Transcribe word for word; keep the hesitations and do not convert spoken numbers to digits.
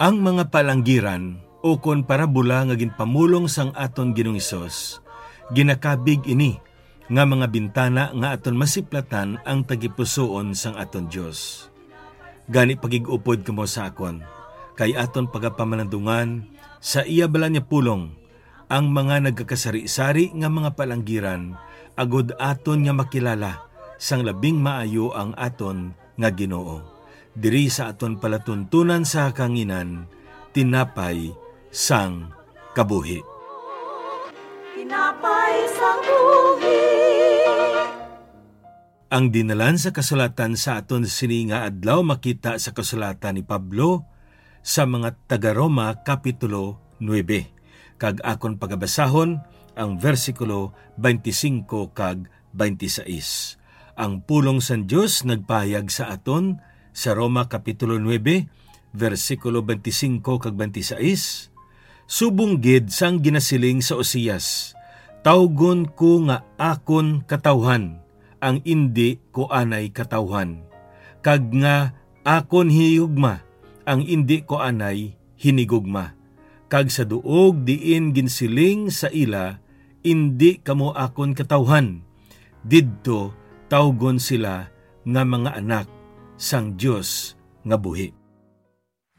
Ang mga palanggiran ukon parabola nga ginpamulong sang aton Ginoong Hesus, ginakabig ini nga mga bintana nga aton masiplatan ang tagipusoon sang aton Dios. Gani, pagig-upod kamo sa akon, kay aton pagapamalandungan sa iya balaan nga pulong ang mga nagakasari-sari nga mga palanggiran, agod aton nga makilala sang labing maayo ang aton nga Ginoo. Diri sa aton palatuntunan sa kahanginan, tinapay sang kabuhi. Tinapay sang buhi. Ang dinalan sa kasulatan sa aton sini nga adlaw makita sa kasulatan ni Pablo sa mga taga-Roma, Kapitulo nuebe, kag akon pagabasahon ang bersikulo twenty-five kag twenty-six. Ang pulong sang Dios nagpahayag sa aton sa Roma, Kapitulo nuebe, bersikulo twenty-five kag twenty-six, subong gid sang ginasiling sa Oseas, "Tawgon ko nga akon katawhan ang indi ko anay katawhan, kag nga akon hinigugma ang indi ko anay hinigugma." Kag sa duog diin ginsiling sa ila, "Indi kamo akon katawhan," didto tawgon sila nga mga anak sang Dios nga buhi.